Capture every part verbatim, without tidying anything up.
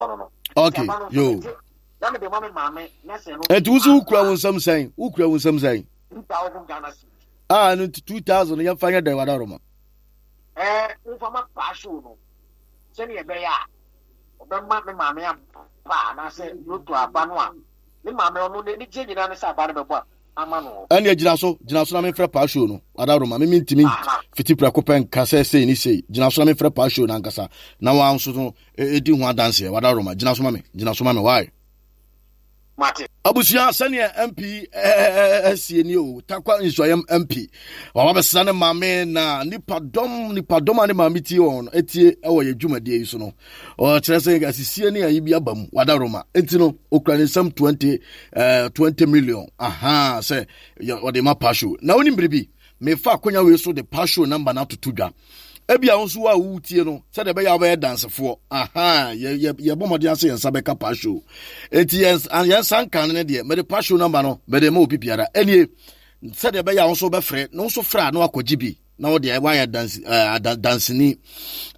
No no. Okay, yo. Na mede ma me maame na sɛ no. Ɛnti wo so wokura wo nsɛm sɛn? Wokura wo nsɛm sɛn? Two thousand Ghana cedis. Ah, no two thousand yɛmfa nyɛ dɛn wadaroma? Ɛɛ, womfa ma paa show no sɛnea ɛbɛyɛ a ɔbɛma me maame aba anaasɛ loto aba no a me maame ɔno n'ani gye nyinaa ne sɛ aba no bɛbɔ ama no. Ɛnneɛ gyina so, gyina so na memfrɛ paa show no wadaroma. Me mentumi fiti prɛko pɛ nka sɛ sei ne sei. Gyina so na memfrɛ paa show no ankasa na wɔn nso no ɛdi ho adanseɛ. Wadaroma, gyina so ma me, gyina so ma me, why? Mate. Abusua, sɛneɛ M P asie ni o, Takwa Nsuayɛm M P waba bɛsra ne maame na nipadɔm nipadɔm a ne maame tie wɔn etie ɛwɔ yɛ dwumadie yi so no, ɔkyerɛ sɛ asisie ne ayi bi aba mu wadaroma. Enti no okura ne nsam twenty ɛɛ twenty million aha sɛ ɔde ma pasho. Na onim biribi, mefa akonya wei so de pasho number no atoto dwa. Ebi a nso a wotie no sɛdeɛ ɛbɛyɛ a wobɛyɛ dansefoɔ aha, yɛbɔ mmɔden ase yɛn nsa bɛka pasho. Enti yɛn yɛn nsa nka no deɛ, mede pasho number no mede ma obi biara ɛnie sɛdeɛ ɛbɛyɛ a wo nso wobɛfrɛ na wo nso frɛ a na wakɔgye bi na wode wayɛ dansi ɛɛ danseni.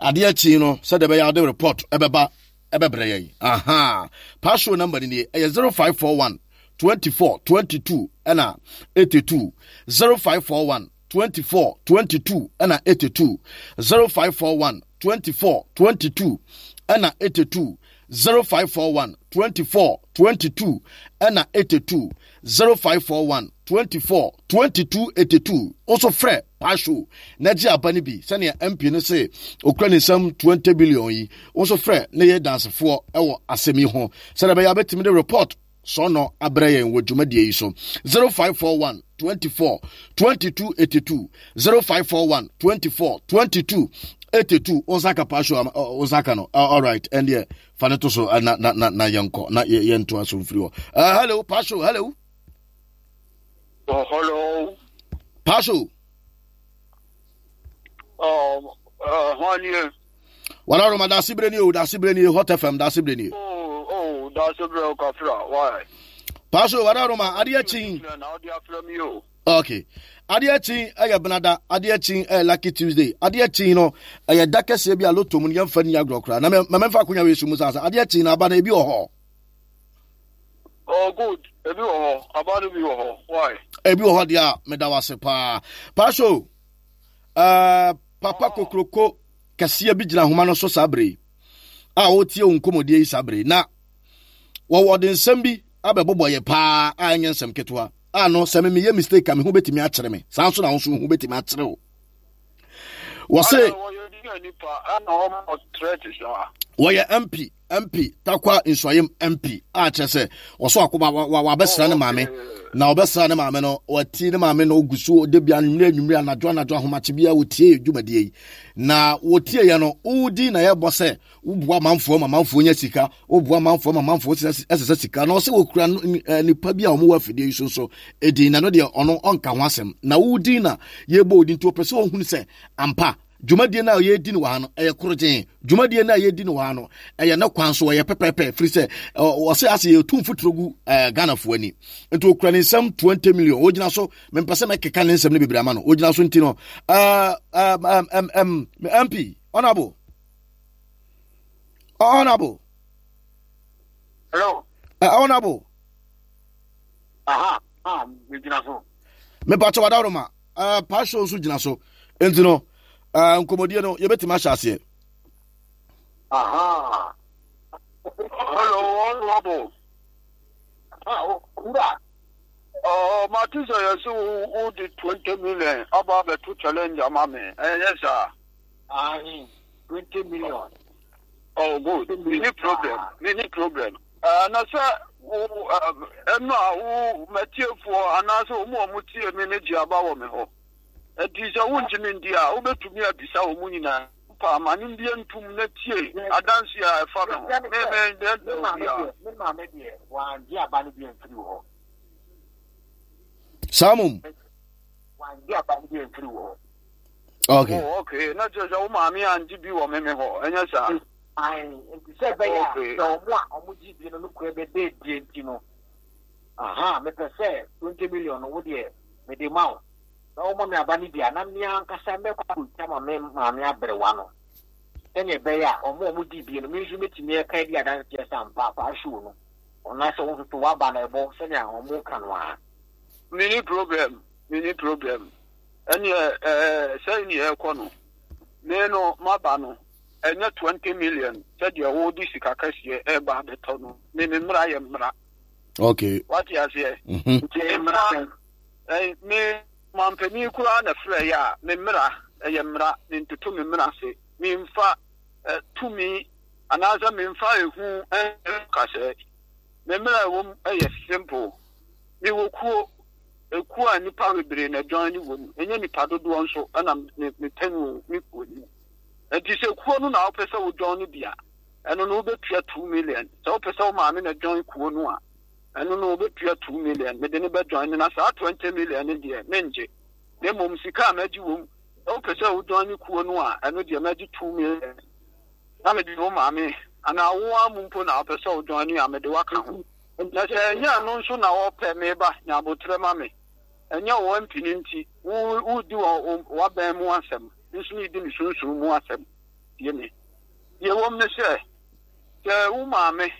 Adeɛ akyi no, sɛdeɛ ɛbɛyɛ a wode report ɛbɛba ɛbɛbrɛ yɛn aha. Pasho number no nie, ɛyɛ zero five four one twenty-four twenty-two ɛna eighty-two, zero five four one twenty-four twenty-two ɛna eighty-two, zero five four one twenty-four twenty-two ɛna eighty-two, zero five four one twenty-four twenty-two ɛna eighty-two, zero five four one twenty-four twenty-two eighty-two. Nso frɛ pasho na gye aba no bi sɛnea M P no se okura ne nsam twenty billion yi. Nso frɛ ne yɛ dansefoɔ ɛwɔ asɛm yi ho sɛdeɛ ɛbɛyɛ abɛtumi de report sɔnɔ abrɛ yɛn wɔ dwumadie yi so. zero five four one twenty-four twenty-two eighty-two, zero five four one twenty-four twenty-two eighty-two. Osaka pasho, Osaka no. All right, ɛndeɛ fa ne to so na na na na yɛnkɔ na yɛnto aso mfiri hɔ. uh, hello pasho, hello. Oh, hello. Pasho. Oh, uh, hwan wadaroma, daase berɛ nie o, daase berɛ nie, Hot F M, daase berɛ nie. Oh, oh, daase berɛ o, kafra, why? Pasho, wadaroma, adeɛ kyin. Na ɔde afrɛ mi o. Okay, adeɛ kyin ɛyɛ benada, adeɛ kyin ɛyɛ Lucky Tuesday. Adeɛ kyin no ɛyɛ da kɛseɛ bi a loto mu no yɛmfa ni agorɔ koraa na mɛmfa akonya wei so mu saa sɛ adeɛ kyin na aba no ebi wɔ hɔ. Oh, good, ebi wɔ hɔ, aba no bi wɔ hɔ, why? Ebi wɔ hɔ deɛ a, meda wo ase paa, Pasho. uh, papa kokroko kɛseɛ bi gyina ahoma no so saa bere yi a wɔretie wo nkɔmmɔdie yi saa bere yi na wɔwɔ de nsɛm bi abɛbobɔ yɛ paa a ɛnyɛ nsɛm ketewa a no sɛ memeyɛ mistake a me ho bɛtumi akyerɛ me, saa nso na wo nso wo ho bɛtumi akyerɛ wo. Wɔse wɔyɛ M P M P Takwa Nsuayem M P a kyerɛ sɛ wɔso akoba wabɛsra ne maame na ɔbɛsra ne maame no, wati ne maame no ogu so de bia anwummerɛ anwummerɛ, anadwo anadwo, ahomakye bia wɔtie dwumadie yi na wɔtie yɛ no wodi na yɛbɔ sɛ woboa amanfoɔ ma amanfoɔ nya sika, woboa amanfoɔ ma amanfoɔ ɛsesɛ sika. Na ɔsɛ wɔkura nipa bi a wɔwɔ afidie yi so nso ɛdin na no deɛ ɔno ɔnka ho asɛm na wodin na yɛbɔ odin nti wɔpɛ sɛ ɔhunu sɛ ampa dwumadie no a yɛredi no wɔ ha no ɛyɛ korogyen, dwumadie no a yɛredi no wɔ ha no ɛyɛ ne kwan so, ɛyɛ pɛpɛɛpɛ, firi sɛ ɔsɛ ase yɛtu mfuturo gu Ghanafoɔ ani. Nti ɔkura ne nsɛm twenty million ɔgyina so. Mempɛ sɛ mɛkeka ne nsɛm no bebree ama no, ɔgyina so. Nti no M P honorable, honorable. Hello. uh, honorable. Aha, ah, megyina so. Mepakyɛ wadaroma, uh, pasho nso gyina so. Nti no uh, nkɔmmɔdie no yɛbɛtumi ahyɛ aseɛ. Aha. Hello, honorable. Ah, wura. Oh, mate sɛ yɛsɛ wo de twenty million aba abɛto challenge ama me, ɛyɛ saa? Ahe, twenty million. Oh, good, menni problem, menni problem. uh, na sɛ wo ɛno a wo matiefoɔ anaasɛ wɔn a wɔn tie me ne gye aba wɔ me hɔ, ɛnti sɛ wontumi ndi a wobɛtumi abisa wɔn mu nyinaa pa ama ne mbie ntum na tie adanse a ɛfa me ho. Me me me maame deɛ, me maame deɛ wangye aba no bi amfiri hɔ. Saa mom. Wangye aba no bi amfiri hɔ. Okay. Oh, okay, na kyerɛ sɛ wo maame angye bi wɔ me me hɔ, ɛnyɛ saa? Ae, nti sɛ ɛbɛyɛ a sɛ ɔmo a ɔmo gye bi no no kura bɛbɛ die nti no, aha, mepɛ sɛ twenty million no wo deɛ mede ma wo na wɔma me aba no bi a na me ankasa mɛkɔ akɔtwa ma me maame aberewa no. Sɛnea ɛbɛyɛ a wɔn a wɔdi bie no, me nso mɛtumi aka adi adanseɛ sɛ ampa Paasoo no, anaasɛ wo nso so w'aba no ɛbɔ sɛnea wɔka no ara. Menni problem, menni problem. Ɛneɛ ɛɛ sɛn ne ɛrekɔ no, me no m'aba no ɛnyɛ twenty million sɛdeɛ wode sika kɛseɛ ɛreba abɛtɔ no. Me me mmara yɛ mmara. Okay. Wate aseɛ? Mm-hmm. Nti mmara, me mampanin koraa na frɛ yɛ a, me mmara ɛyɛ mmara, mentoto me mmara ase. Memfa tumi anaasɛ memfa ehu nkasɛɛ. Me mmara a ɛwɔ mu yɛ simple. Mewɔ kuo, ekuo a nnipa bebree na join wɔ mu. Ɛnyɛ nnipa dodoɔ nso na mepɛ no wɔ me kuo no mu. Nti sɛ kuo no na wopɛ sɛ wo join bi a, ɛno no wobɛtua two million. Sɛ wopɛ sɛ wo maame na join kuo no a, ɛno no wobɛtua two million. Mede no bɛ join na saa twenty million no deɛ mengye. Na mmom sika a mɛgye wɔ mu, sɛ wopɛ sɛ wo join kuo no a, ɛno deɛ mɛgye two million. Na mede wo maame anaa wo ara mu mpo na wopɛ sɛ wo join a, mede wo aka ho. Na sɛ ɛnyɛ ɛno nso na wɔpɛ, me ba, nya aboterɛ ma me. Ɛnyɛ wo M P no nti, wo, woredi wɔ w'abɛn mu asɛm, me nso meredi me sunsum mu asɛm. Tie me. Deɛ ɛwom ne sɛ, sɛ wo maame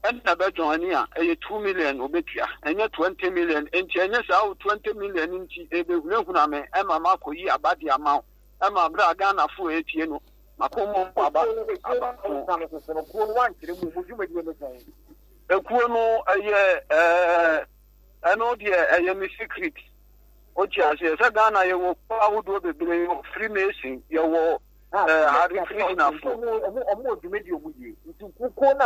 na ɛbɛ join a, ɛyɛ two million na ɔbɛtua, ɛnyɛ twenty million. Enti ɛnyɛ saa wo twenty million nti, ɛrebɛhunahuna me ma makɔyi aba de ama wo, ɛma berɛ a Ghanafoɔ retie no, makɔmmɔ aba, aba ho. Ekuo no ɛyɛ ɛɛ ɛno deɛ ɛyɛ me secret. Wote aseɛ sɛ Ghana yɛwɔ kuo ahodoɔ bebree, yɛwɔ Freemason, yɛwɔ ɛɛ Hare Krishnafoɔ.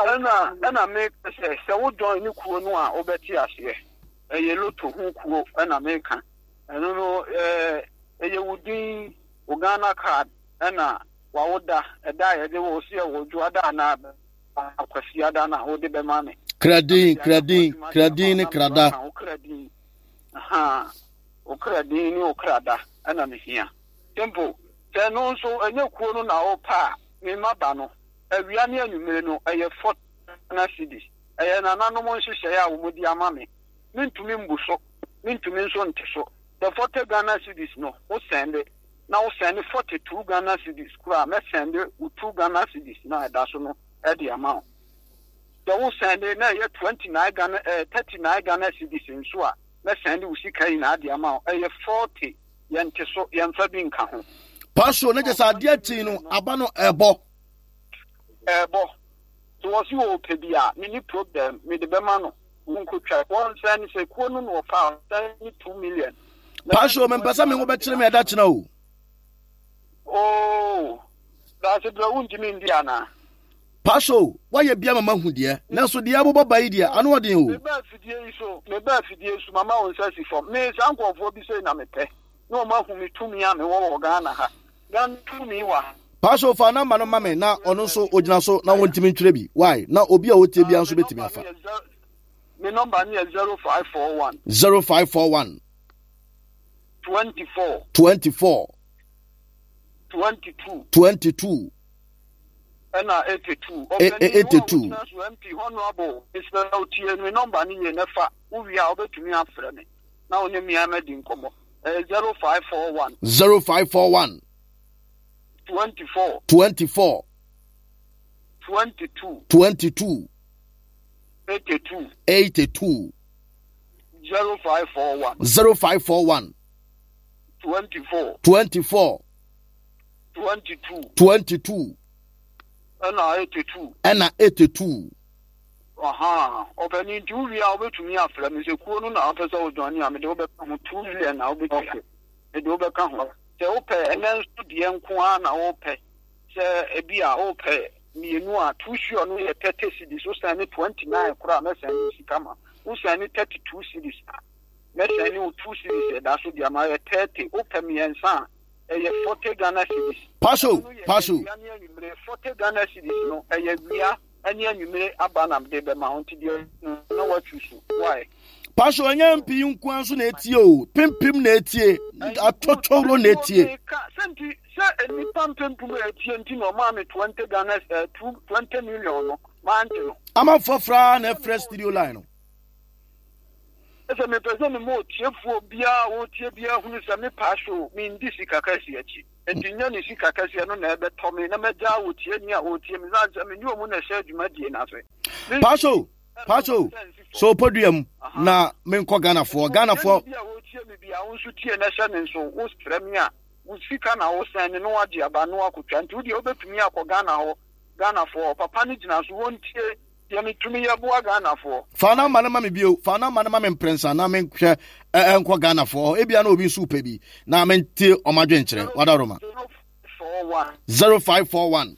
Ɛna ɛna meka sɛ sɛ wo join ne kuo no a wobɛte aseɛ. Ɛyɛ loto ho kuo ɛna meka. Ɛno no ɛɛ ɛyɛ wo din, wo Ghana card ɛna wawoda, ɛda a yɛde wo sɛ yɛwɔ dwoada anaa Kwasiada na wode bɛma me. Kradin, kradin, kradin ne krada. Wo kradin, aha, wo kradin ne wo krada ɛna mehia. Simple. Sɛ ɛno nso ɛnyɛ kuo no na wopɛ a, me mma ba no, awia ne anwummere no ɛyɛ forty Ghana cedis. Ɛyɛ nananom nhyehyɛeɛ a wɔde ama me. Mentumi mbu so, mentumi nso nte so. Sɛ forty Ghana cedis no, wo sɛnde na wo sɛnde forty two Ghana cedis koraa a, mɛsɛnde wo two Ghana cedis no a ɛda so no de ama wo. Sɛ wo sɛnde na ɛyɛ twenty nine Ghana ɛɛ eh, thirty nine Ghana cedis nso a, mɛsɛnde wo sika nyinaa de ama wo. Ɛyɛ forty, yɛnte so, yɛmfa bi nka ho. Pastor, ne kyɛ sɛ adeɛ kyen no, aba no ɛbɔ. Ɛbɔ. So wɔsi wɔ pɛ bi a, menni problem, mede bɛma no. Wonkotwa. Wɔnsɛn sɛ kuo no na ɔpɛ a, ɔsɛn ne two million. Pastor, mempɛ sɛ me ho bɛkyerɛ me ɛda kyena o. Oo, daase brɛ wontumi ndi anaa? Pastor, woayɛ bia ma mahu deɛ, nanso deɛ abobɔ ba yi deɛ, ano ɔden o. Meba afidie yi so, meba afidie yi so, mama wo nsa si fam. Me saa nkurɔfoɔ bi sei na mepɛ, na wɔn ahu me tumi a mewɔ wɔ Ghana ha. Ghana tumi wɔ ha. Pastor, fa namba no ma me na ɔno nso ogyina so na wɔntumi ntwerɛ bi. Why? Na obi a ɔtie bia nso bɛtumi afa. Me nɔmba no yɛ zero five four one. Zero five four one. Twenty four. Twenty four. Twenty two. Twenty two. Ɛna eighty two. Eighty two. Ɔpɛni so M P honourable mesrɛ wo tie me nɔmba no yie na fa wo wie a wobɛtumi afrɛ me na wo ne me amadi nkɔmmɔ. Ɛyɛ zero five four one. Zero five four one. Twenty four. Twenty four. Twenty two. Twenty two. Eighty two. Eighty two. Zero five four one. Zero five four one. Twenty four. Twenty four. Twenty two. Twenty two. Ɛna eighty two. Ɛna eighty two. Aha, ɔpɛni nti wo wie a wobɛtumi afrɛ me sɛ kuo no na wopɛ sɛ wodwane a mede wobɛka ho two million na wobɛtua mede wobɛka ho sɛ wopɛ ɛnɛ nso deɛ nko ara na wopɛ sɛ ebi a wopɛ mmienu a two sure no yɛ thirty cedis wosan ne twenty nine koraa mɛsan ne sika ma wosan ne thirty two cedis a mɛsan ne wo two cedis ɛda so deɛ ma yɛ thirty wopɛ mmiɛnsa a ɛyɛ forty Ghana cedis. Paso paso. Forty Ghana cedis no ɛyɛ wia ɛne anwummere aba na mede bɛma wo nti deɛ na watwi so why. Paso ɛnyɛ mpii nkoa nso na etie o pimpim na etie atɔtɔwuro na etie. Sɛ sɛ nnipa mpempem a etie nti na ɔmaa me twenty Ghana eh, two twenty million no mante no. Amanfoɔ fra na ɛfrɛ studio line no. Sɛ mepɛ sɛ mema otiefoɔ biara a ɔretie biara hunu sɛ me Pastor mendi sika kɛseɛ akyi. Enti nyɛ ne sika kɛseɛ no na ɛbɛtɔ me na magyaa otieni a ɔretie me sane sɛ me ne ɔmu na ɛhyɛ dwumadie no ase. Pastor, Pastor, so podua mu na menkɔ Ghanafoɔ. Ghanafoɔ. Bi a ɔretie me biara wo nso tie na hyɛ ne nso wofrɛ me a wo sika na wosɛn me na wagye aba na wakɔtwa nti wodeɛ wobɛtumi akɔ Ghana hɔ Ghanafoɔ papa no gyina so wɔntie deɛ metumi yɛ boa Ghanafoɔ. Fa namba no ma me bio. Fa namba no ma me mprɛnsa na menhwɛ ɛnkɔ Ghanafoɔ hɔ. Ebia na obi nso pɛ bi na mente ɔmo adwenkyerɛ. Wadaroma. Zero five four one.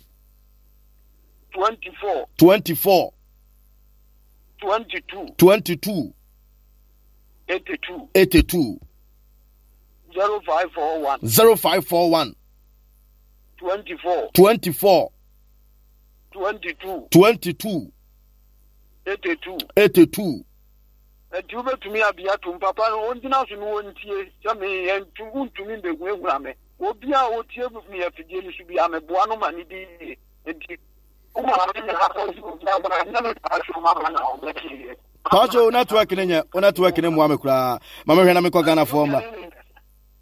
Twenty four. Twenty four. Twenty two. Twenty two. Eighty two. Eighty two. Zero five four one. Zero five four one. Twenty four. Twenty four. Twenty two. Twenty two. Eighty two. Eighty two. Nti wobɛtumi abia tom papa no ɔngyina so no wɔntie sɛ meyɛ wontumi mbɛhuahua me obi a ɔtie me afidie no so bi a meboa no ma ne di yie nti Pacho network ne nyɛ wo network ne mmoa me koraa ma mehwɛ na mekɔ Ghanafoɔ mmra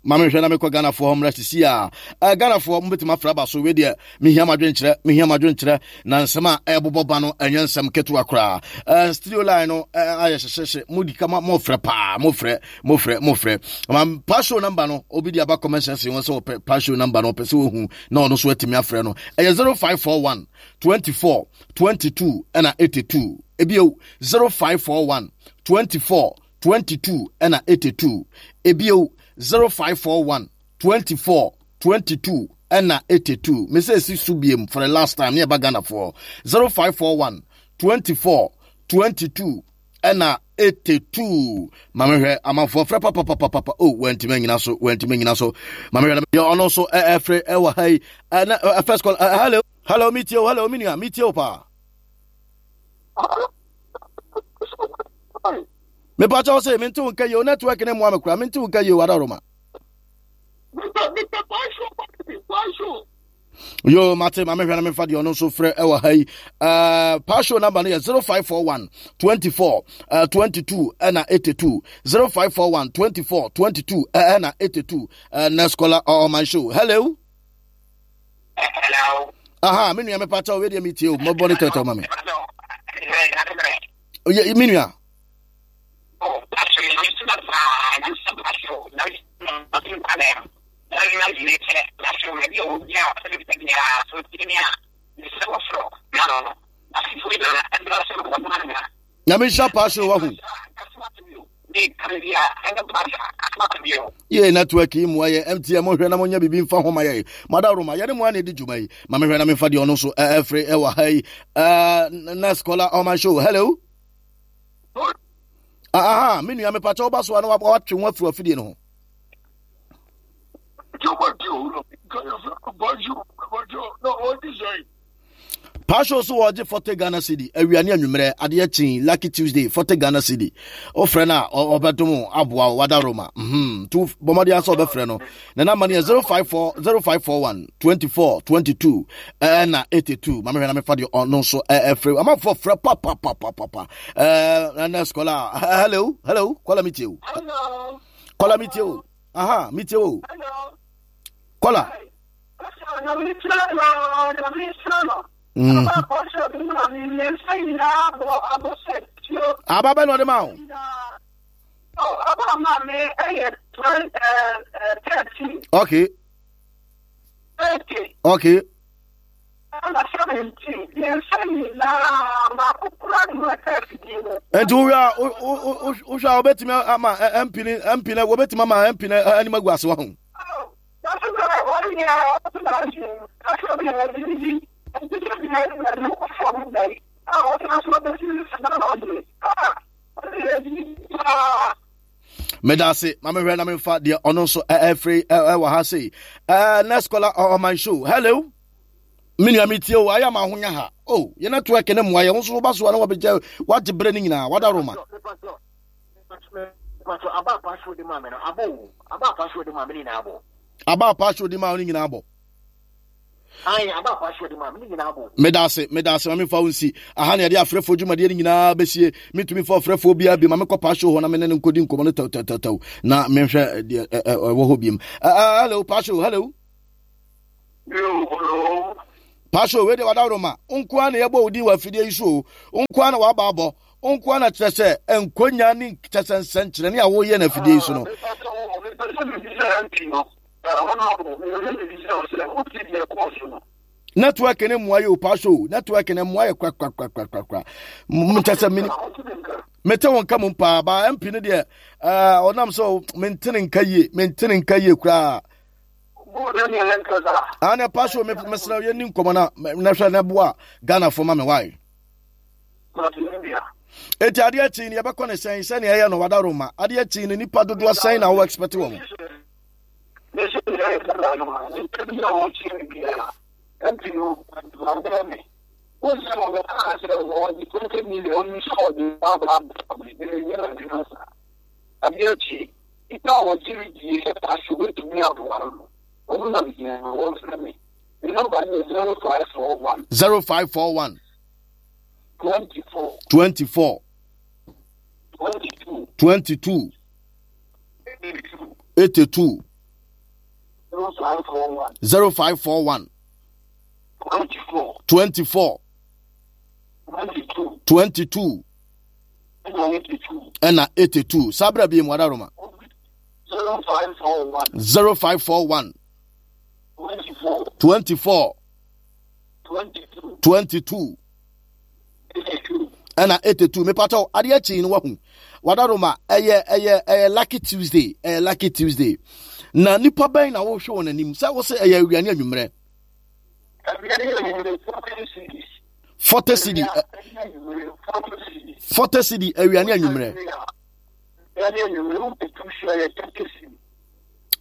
ma mehwɛ na mekɔ Ghanafoɔ mmra sisi a eh, Ghanafoɔ mobɛtumi afra ba so wei deɛ mehia madwenkyerɛ mehia madwenkyerɛ na nsɛm a ɛbobɔ ba no ɛnyɛ nsɛm ketewa koraa eh, studio line no eh, ayɛ hyehyehye modi ka mofrɛ paa mofrɛ mofrɛ mofrɛ ma Pacho number no obi de aba comment section wɔn sɛ wɔpɛ Pacho number no ɔpɛ sɛ wɔhu na ɔno nso atumi afrɛ no ɛyɛ zero five four one twenty four twenty two ɛna eighty two ebio zero five four one twenty four twenty two ɛna eighty two ebio zero five four one twenty four twenty two ɛna eighty two mese esi so biem for the last time ne ɛba Ghana foɔ zero five four one twenty four twenty two ɛna eighty two maame hwɛ amanfoɔ frɛ papapapapa o wɔntumi anyina so wɔntumi anyina so maame hwɛ deɛ ɔno nso ɛfrɛ ɛwɔ ha yi ɛna ɛ first call ɛ hello hello mi tie o hello mi nua mi tie o paa mepa kyɛw sɛ mente wo nka yie o network ne mmoa me koraa mente wo nka yie o adaroma Yo, mate, ma mehwɛ na memfa deɛ ɔno nso frɛ ɛwɔ ha yi. Uh, Pasho number no yɛ zero five four one twenty four uh, twenty two ɛna eighty two zero five four one twenty four twenty two ɛna eighty two. Uh, next caller on my show. Hello. Hello. Aha, me nua mepa kyɛw, wei deɛ metie o, mɔbɔ ne tɛtɛ ma me. Oye, me nua. Nyame nhyira paa so wahu. Yee network yi mmoa yɛ M T N mohwɛ na monyɛ biribi mfa ho ma yɛ mada roma yɛne mo a na ɛdi dwuma yi ma mehwɛ na memfa deɛ ɔno nso ɛfiri ɛwɔ ha yi. Next caller on my show. Hello. Aha, me nua mepakyɛ woba so a na watwe ho afiri afidie no ho. Pasho so wɔgye forty Ghana cedi awia ne anwummerɛ adeɛ kyen Lucky Tuesday, forty Ghana cedi. Wofrɛ no a ɔbɛdom aboa wo wada Roma mm tu bɔmmɔden asɛ ɔbɛfrɛ no ne namba no yɛ zero five four zero five four one twenty-four twenty-two ɛna eighty-two. Ma mehwɛ na mefa deɛ ɔno nso ɛfrɛ amanfoɔ frɛ papapapapa. Ɛɛ scholar, hello, hello caller, metie o. Caller, metie o. Aha, metie o, caller. Mm. Aba bɛ na ɔde ma o. Aba ma me ɛyɛ thirteen. Okay. Thirty. Okay. Ɛna seventeen mmiɛnsa nyinaa baako kura ne mu ɛka afidie no. Nti wohwɛ a wohwɛ a wobɛtumi ama M P ne M P ne wobɛtumi ama M P ne anim agu ase wɔ ho. Wɔn nyinaa wɔn na ɔgye afɔ bi na wɔde di nti bi na ɛna ne kɔ fam da yi a wɔtena so bɛsi na ɔgye a ɔde yɛ di paa. Meda ase. Ma mehwɛ na memfa deɛ ɔno nso ɛfiri ɛwɔ ha sei. Next caller on my show. Hello, me nua, metie o. Ayɛ ama ahonya ha o yɛ network ne mmoa yɛ wo nso woba so a na wabɛgya wagye berɛ no nyinaa wada roma. Aba apaso de ma me no abo o aba apaso de ma me nyinaa abɔ. Aba apaso de ma wo no nyinaa abɔ. Meda ase, meda ase. Ma memfa wo nsi aha na yɛde afrɛfoɔ dwumadeɛ no nyinaa bɛsie. Mentumi mfa ɔfrɛfoɔ biara bi ma mekɔ paahyew hɔ na mene no nkɔdi nkɔmmɔ no tɛwtɛwtɛw na menhwɛ deɛ ɛwɔ hɔ biom. Hello paahyew, hello paahyew. Wei deɛ wadaworo ma nkoa na yɛbɔ wo din wɔ afidie yi so o, nkoa na waba abɔ nkoa na kyerɛ sɛ nkonya ne kyɛ sɛ nsɛnkyerɛnne a woyɛ no afidie yi so no. Network ne mmoa yɛ o, paahyew o, network ne mmoa yɛ korakorakorakorakora. Nkyɛ sɛ mene mete wo nka mu paa ba M P no deɛ, ɔnam sɛ mentene nka yie, mentene nka yie koraa. Ana paahyew, mesrɛ yɛni nkɔmmɔ na na hwɛ na boa Ghanafoɔ ma me wae. Eti adeɛ kyi no yɛbɛkɔ ne sɛn sɛnea ɛyɛ no wadaro ma adeɛ kyi no nipa dodoɔ sɛn na wo expect wɔn? Zero five four one twenty four twenty two eighty two zero five four one twenty four twenty two ɛna eighty two. Sabra bi mu adaroma zero five four one twenty four twenty two ɛna eighty two. Mepatɔ adeɛ akyi no wahu wadaroma ɛyɛ ɛyɛ ɛyɛ Lucky Tuesday, ɛyɛ Lucky Tuesday na nipa bɛn na wohwɛ wɔn anim sɛ wosɛ ɛyɛ awia ne anwummerɛ? Forty cedi, forty cedi awia ne anwummerɛ.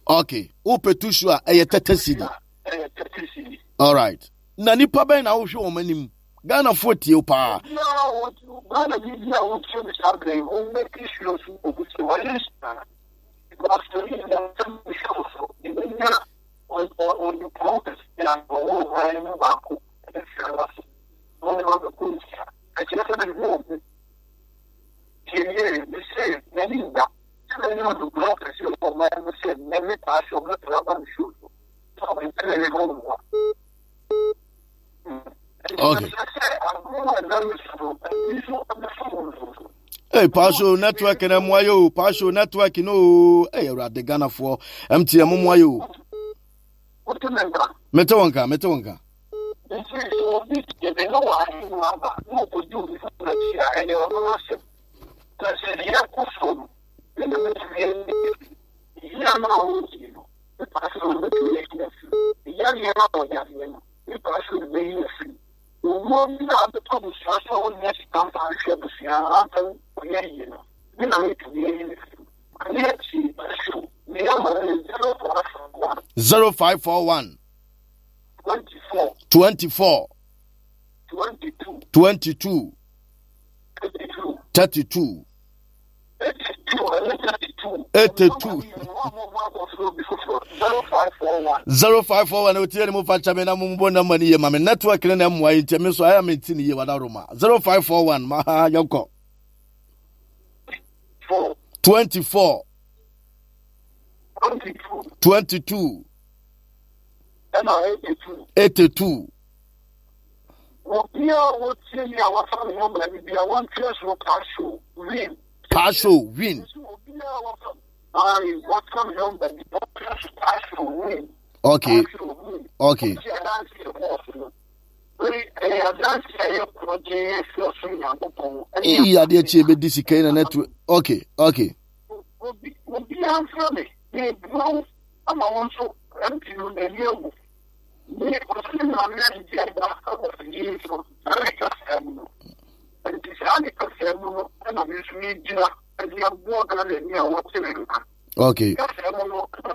Okay, wopɛ tu su a ɛyɛ thirty cedi. Alright, na nipa bɛn na wohwɛ wɔn anim? Ghanafoɔ tie wo paa. Ghana bi bi a wotie me saa berɛ yi, wɔmmɛki sure so ogu sɛ wɔyɛ nhyira because ɛyi na sɛ mehyɛ wo so yɛbɛnya ɔnipɔn kɛseɛ a ɔwɔ ɔman mu baako ɛbɛfira no ase na ɔne wabɛkɔ nhyira ɛkyerɛ sɛ mehu obi tie yie mese m'ani nda sɛ mɛnya ɔdopɔn kɛseɛ wɔ ɔman mu sɛ mɛme paa sɛ ɔbɛtena aba me show so sɛ ɔbɛmpɛ ne ne ho mmoa. Okay. Hey, Pasho network na mmoa yɛ o, Pasho network no o. Hey, Awurade Ghanafoɔ M T N mo mmoa yɛ o. Mete wo nka, mete wo nka. Nti sɛ obi yɛde ne wɔ ahemu aba na ɔkɔdi obi foforɔ akyi a, ɛyɛ ɔno asɛm. Na sɛ deɛ ɛkɔ soɔ no ne na bɛtumi ayi yia no a ɔredi no, ne paase no bɛtumi ayi afiri yareɛ no a ɔyareɛ no, ne paase no bɛyi afiri owuo bi a abɛtɔ abusua so a wɔnnya sika mfa nhwɛ abusua amfa ɔyɛ yie no, ne na bɛtumi ayi no afiri adeɛ akyi. Paase ne ama no zero five one zero five four one twenty four twenty four twenty two twenty two thirty two thirty two eighty two ɛne thirty two eighty two zero five four one zero five four one. Otie ne mo fa kyɛ me na mo mbɔ namba ne yie ma me. Network ne na mmoa yi nti me nso ayɛ me nti ne yie. Wadaroma zero five four one ma ha yɛnkɔ. Four twenty four twenty two twenty two ɛna eighty two. eighty two. Obiara a wɔtie mi a wafa ne nɔmba no bia wɔntwerɛ so paahyew win. Paahyew win. Obiara a wafa ayi wafa ne nɔmba bi wɔntwerɛ so paahyew win. Okay. Paahyew win. Okay. Ɔsi adansi ɛwɔ so no wei ɛyɛ adansi a ɛyɛ korɔgye ɛfi ɔsoro Nyankopɔn. Iyi adeɛ kyi ebedi sika yi na network. Okay, okay. Obi obiara mfrɛ me na ebua wo ama wɔn nso M P no n'ani awu. Me ɔsɛ maame adidi aba ɛwɔ fidie so saa ne kasa mu no, nti saa ne kasa mu no ɛna me nso megyina ɛde aboa Ghana ni a wɔte me nka Okay. kasa mu no ɛna